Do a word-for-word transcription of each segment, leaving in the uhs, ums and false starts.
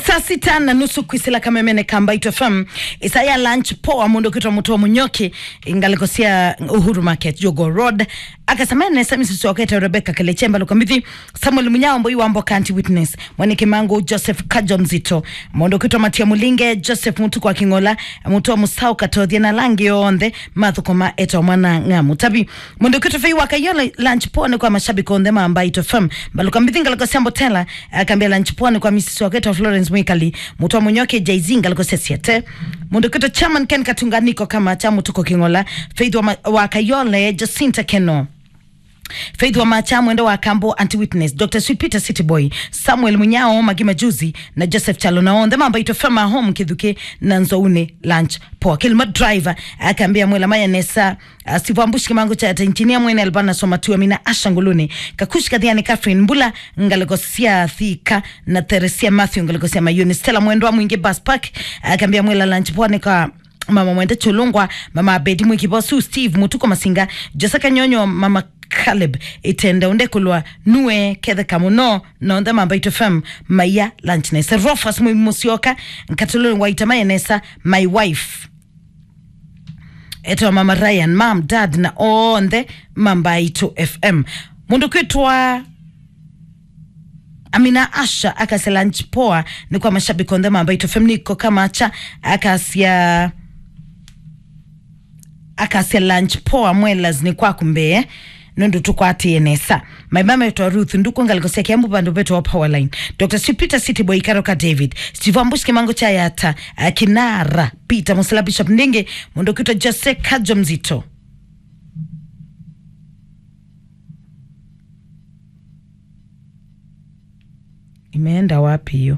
Saa sita na nusu kwisila kamemene ka Mbaitũ F M. Ĩsaa ya lunch poa, mũndũ ũkwĩtwa Mũtũa Mũnyoki, ngalĩko sya Uhuru Market, Jogoo Road. Akasema nesa misisi wakete Rebecca Keleche, Mbaluka Mbithi, Samuel Munyao, Mboi wa Mboka, Auntie Witness, Mwene Kimangu, Joseph Kajo Mzito, mũndũ ũkwĩtwa Matia Mulinge, Joseph Mutuku wa King'ola, Mũtũa Mũsao Katothia na ala angĩ onthe mathũkũma etwa Mwana Ng'amu. Tavi, mũndũ ũkwĩtwa Fei wa Kayole, lunch poa nĩ kwa mashabiki onthe ma Mbaitũ F M. Mbaluka Mbithi, ngalĩko sya Mbotela, akambia lunch poa nĩ kwa misisi waketwa Florence Mwikali, Mũtũa Mũnyoki, Jay-Z, ngalĩko sya Siete. Mũndũ ũkwĩtwa Chairman Ken Katunga, niko kama cha Mũtuku King'ola, Faith wa, ma, wa Kayole, Jacinta Keno, Faith wa Macha, Mwende wa Kambo, Auntie Witness, Doctor Sweet Peter, City Boy, Samuel Munyao, Magi Majuzi, na Joseph Chalo, na onthe ma Mbaitũ F M, a home Kithuki na Nzouni, lunch poa. Kilima Driver, akambia mwela maya nesa, a, Steve Ambushi, Kimangu cha Engineer, Mwene Albana Soma, Tuamina Asha Nguluni, Kakushi Kathiani, Catherine Mbula, ngalĩko sya Thika, na Theresia Matthew, ngalĩko sya Mayuni, Stella Mwendwa Mwingi, Bus Park, akambia mwela lunch poa nĩ kwa Mama Mwende Chulungwa, Mama Abedi Mwikibosu, Steve Mutuko Masinga, Jose Kanyonyo, Mama Caleb Itende, Undekulwa, Nue Ketheka Mũno, na onthe ma Mbaitũ F M, maya lunch nesa. Rofas Mwi Mũsyoka, Nkatuluni wa Itamaye nesa, my wife. Etwa Mama Ryan, Mom, Dad, na onthe ma Mbaitũ F M. Mũndũ kwĩtwa Amina Asha akasya lunch poa nĩ kwa mashabiki onthe ma Mbaitũ F M, niko kama cha akasya, akasya lunch poa mwelas nĩ kwaku mbee nũndũ tũkwatĩe nesa. My mama etwa Ruth Nduku, ngalĩko sya Kiambu, vandũ vetwa Powerline. Doctor Sweet Peter, City Boy, Karoka David, Steve Ambush, Kimango cha Yata, uh, Kinara Peter Musila, Bishop Ndingi, mũndũ kwĩtwa Jose Kajo Mzito. Imeenda wapi hiyo?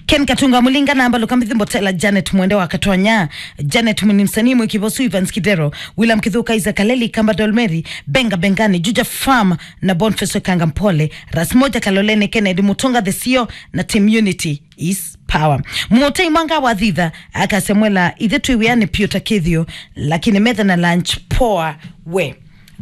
Ken Katunga Mulinga, namba Lukambithi Mbotela, Janet Mwende wa Katonya, Janet Muni, msanii Mwikivosu, Evans Kidero, William Kithuka, Isaac Kaleli, Kamba Dolmeri, Benga Bengani, Juja Farm, na Boniface Kanga Mpole, Ras Moja Kaloleni, Kennedy Mutunga, The C E O, na Team Unity is power. Mũtei Mwanga wa Thitha akasya mwela, ithe twĩ wĩanĩ piũ ta kĩthĩo, lakini metha na lunch poa we.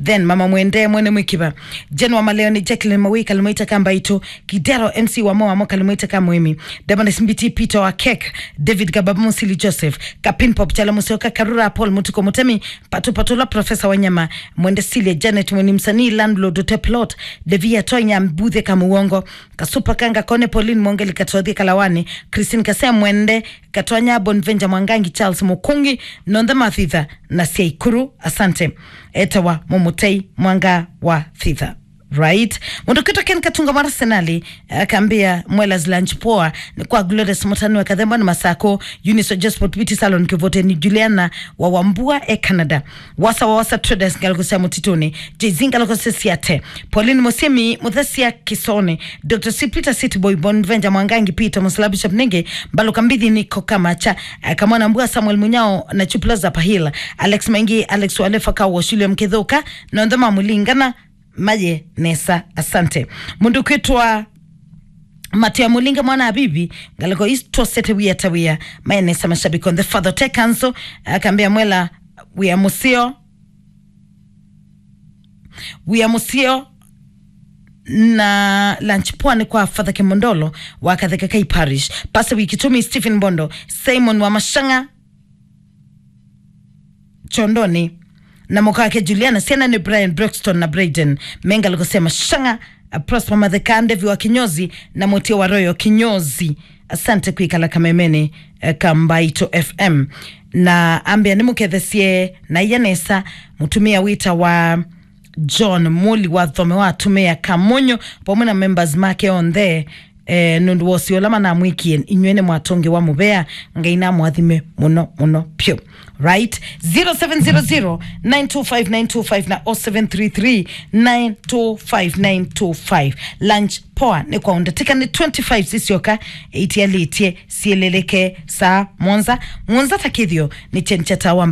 Then Mama Mwende, Mwene Mwikiva, Jen wa Maleoni, Jacqueline Mawika, Limaita Kambaito, Kidero, M C wa Moa Moka, Limaita Kamwemi, Damaris Mbiti, Peter wa Kek, David Gababa, Musili Joseph, Kapin Pop, Chala Musioka, Karura, Paul Mutuko Mutemi, Patu Patula, Professor Wanyama, Mwende Silia, Janet Mweni, msanii, landlord, Hotel Plot, Devia Tonya, Mbuthe Kamuongo, Kasupa Kanga Kone, Pauline Mongeli, Katothi Kalawani, Christine Kasea, Mwende Katonya, Bonvenja Mwangangi, Charles Mukungi, nonthe ma Thitha na Siaikuru. Asante. Etawa Mumutei Mwanga wa Thitha. Right. Mũndũ kwĩtwa Ken Katunga wa Arsenal, akambia mwelas lunch poa nĩ kwa Glorious Mutani wa Kathemba na Masako, Eunice wa Josport Beauty Salon Kivuteni, Juliana wa Wambua e Canada, Wasa wa Wasa Traders, ngalĩko sya Mũtitũnĩ, Jay-Z, ngalĩko sya Siate, Pauline Musimi, Muthesia Kisone, Doctor Sweet Peter, City Boy, Bonvenja Mwangangi, Peter Musila, Bishop Nenge, Mbaluka Mbithi, Niko Kamacha, eh, Kamwana Mbua, Samuel Munyao, na Chuplaza Pahila, Alex Maingi, Alex Walefa, Kawo, William Kithuka, nonthe ma Mulingana, maye nesa. Asante. Mũndũ kwĩtwa Matia Mulinga, mwana Abibi, ngalĩko is twosete wia ta wia, maye nesa mashabiki on the Father Tech Council, akambia mwela wia mũseo, wia mũseo, na lunch poa nĩ kwa Father Kimondolo wa Katheka Kai Parish, Pastor Wikitumi, Stephen Bondo, Simon wa Mashanga, Chondoni, na mũka wake Juliana, syana nĩ Brian, Broxton na Brayden, me ngalĩko sya Mashanga, uh, Prosper Matheka, Ndevi wa Kinyozi, na Mũtio wa Royal Kinyozi. Asante kwĩkala kamemene, eh, ka Mbaitũ F M. Na ambĩa nĩmũkethesye na iya nesa mũtumĩa wĩtawa John Muli wa Thome wa atumĩa Kamonyo, pamwe na members make onthe. Eh, nũndũ wa ũseo ũla manamwĩkie, inyw'ĩ nĩmwatũngĩwa mũvea. Ngai namũathime mũno mũno pyũ. Right? Zero seven zero zero, nine two five, nine two five na oh seven three three, nine two five, nine two five. Lunch poa nĩ kwa ũndatĩka nĩ twenty-five sisyoka, itialĩtye syĩlĩlĩke saa mũonza. Mũonza ta kĩthĩo nĩ kyeni kya tawa.